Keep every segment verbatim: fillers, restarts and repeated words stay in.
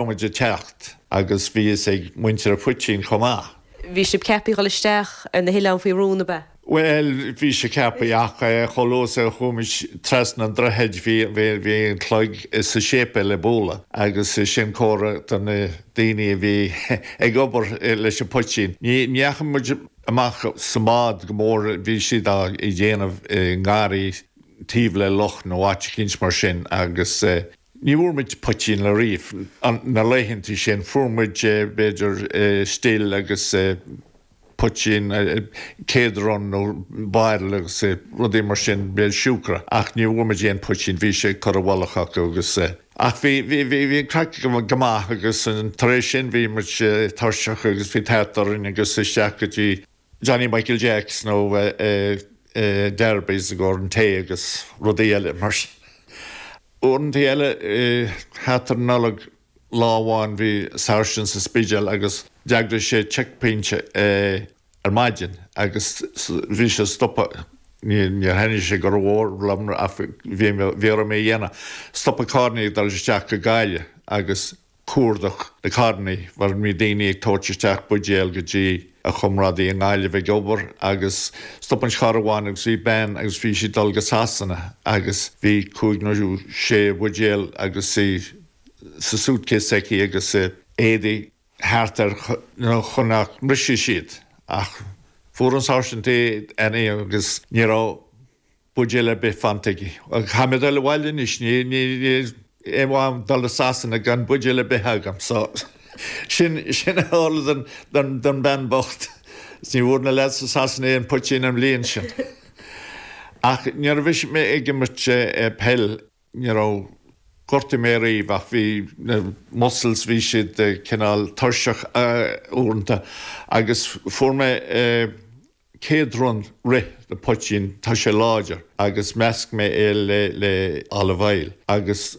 Muid ag teacht agus bhí fhios ag muintir an phoitín chomh maith. Bhí sibh ceaptha dhul isteach ar na hoileáin faoi rún, ab ea? Well, bhí sé ceaptha ach chomh luath is a chuaigh muid trasna an droichid bhí bhí an clog sa séipéal ag bualadh agus sin comhartha do na daoine a bhí ag obair leis an poitín. Ní ndeachaigh muid amach sa mbád go mór, bhí siad á dhéanamh i ngarraí taobh le loch nó áit eicínt mar sin agus ní bhfuair muid poitín le riamh na laethanta sin, fuair muid b'fhéidir still agus poitín céadrun nó bottle agus rudaí mar sin, b'fhéidir siúcra, ach ní bhfuair muid aon poitín, bhí sé curtha i bhfolach acu agus ach bhí bhí bhí bhí an craic go maith agus tar éis sin bhí muid tuirseach agus bhí tart orainn agus isteach go dtí Johnny Michael Jacks nó Derby's i gcomhair an tae agus rudaí eile mar sin. Uaireanta eile thart ar an Nollaig, lá amháin bhí sáirsint sa Spidéal agus d'eagraigh sé checkpoint ar maidin agus bhí sé stopadh, níor thaitnigh sé go mór liom ach bhí bhí orm é a dhéanamh, stopadh carrannaí ag dul isteach go Gaillimh agus cuardach na carrannaí mar bhí daoine ag tabhairt isteach buidéal go dtí a chomrádaí i nGaillimh ag obair agus stop an charr amháin agus bhí bean agus bhí sí ag dul go Sasana agus bhí cúig nó sé bhuidéal agus í sa suitcase aici agus éadaí thart air chun nach mbrisfeadh siad ach fuair an sáirsint é agus ní raibh buidéal ar bith fanta aici. Caithfidh mé dul abhaile anois, ní ní aon mhaith dul go Sasana gan buidéal ar bith agam so sin sin a tharla don don don bhean bocht. Ní bhfuair na lads i Sasana aon poitín an bhliain sin. Ach nuair a bhí mé ag imirt peil ní raibh gortaigh mé riamh ach bhí na muscles, bhí siad cineál tuirseach uaireanta agus fuair mé céadrun rith de poitín, tá sé láidir, agus mheasc mé é le le olive oil agus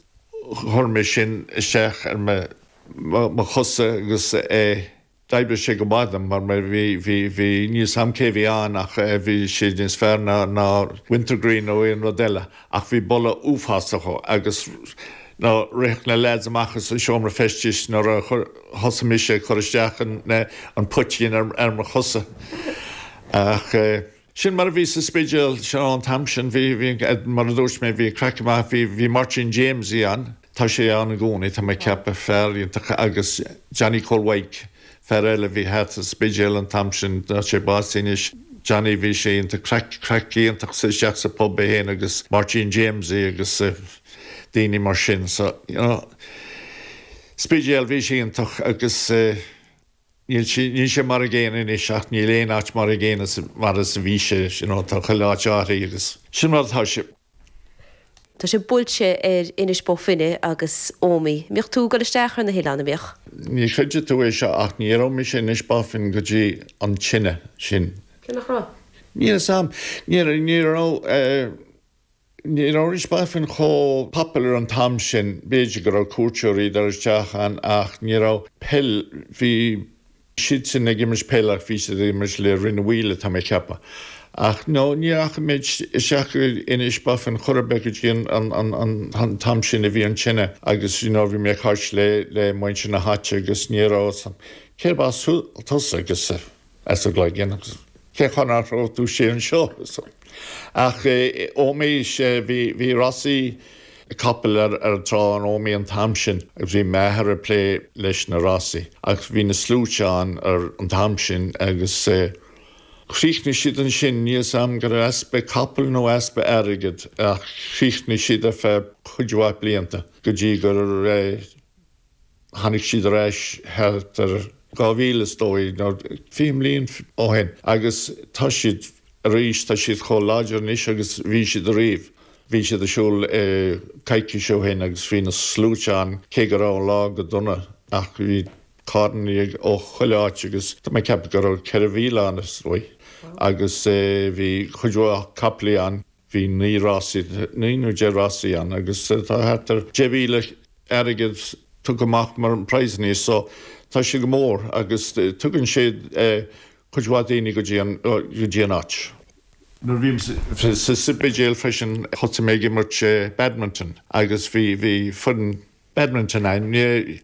chuir mé sin isteach ar mo mo chosa agus é d'oibrigh sé go maith dom mar bhí bhí bhí níl 's a'm cé bhí ann ach bhí sé níos fearr ná ná wintergreen nó aon rud eile ach bhí boladh uafásach agus ná rith na lads amach as an seomra feistis nuair a thosaigh mise ag cur isteach an an poitín ar ar mo chosa. Ach sin mar a bhí sa Spidéal sin an t-am sin, bhí bhí mar a dúirt mé bhí craic maith, bhí bhí Martin James ann, tá sé ann i gcónaí, tá mé ag ceapadh, fear iontach agus Johnny Colwike, fear eile bhí thart sa Spidéal an t-am sin, tá sé básaithe anois. Johnny bhí sé iontach craic craic iontach sa isteach sa pub é féin agus Martin James agus daoine mar sin so you know Spidéal bhí sé iontach agus níl sé níl sé mar a gcéanna anois ach níl aon áit mar a gcéanna mar is a bhí sé you know tá chuile áit athraithe agus sin mar atá sé. Tá sé buailte ar Inis Bó Finne agus Ómaigh. Mbíodh tú ag dul isteach ar na hoileáin, an mbíodh? Ní chreidfidh tú é seo ach ní raibh mise in Inis Bó Finne go dtí an tine sin. Cé nach raibh? Níl 'fhios a'm. Ní ní raibh ní raibh Inis Bó Finne chomh popular an t-am sin, b'fhéidir go raibh cuairteoirí ag dul isteach ann ach ní raibh peil, bhí siad sin ag imirt peil ach bhí siad ag imirt le Rinn an Mhaoile tá mé ag ceapadh. Ach no ní rachaidh mé isteach go Inis Bó Finne chor ar bith go dtí an an an t-am sin a bhí an tine agus you know bhí mé ag caint le le muintir na háite agus ní raibh cérb as tusa agus as an gCloigeann agus cén chaoi nach raibh tú sé anseo. Ach Ómaigh sé bhí bhí rásaí capall ar ar an trá in Ómaigh an t-am sin agus bhí m'athair ag plé leis na rásaí agus bhí na sluaite ann ar an t-am sin agus chríochnaigh siad ansin, níl 'fhios a'm gur easpa capall nó easpa airgid ach chríochnaigh siad ar feadh cuid mhaith blianta go dtí gur tháinig siad ar ais thart ar dhá mhíle is dóigh nó fiche mbliain ó shin agus tá siad arís, tá siad chomh láidir anois agus bhí siad ariamh. Bhí siad ar siúl coicís ó shin agus bhí na sluaite ann cé go raibh an lá go dona ach bhí carrannaí ó chuile áit agus tá mé ag ceapadh go raibh ceithre mhíle ann is dóigh agus bhí cuid mhaith capaillí ann, bhí naoi rásaí, naoi nó deich rásaí ann agus tá thart ar deich mhíle airgead tugtha amach mar prizes so tá sé go mór agus tugann sé cuid mhaith daoine go dtí an go dtí an áit. Nuair a bhí sa Spidéal freisin thosaigh mé ag imirt badminton agus bhí bhí foireann Badminton arís.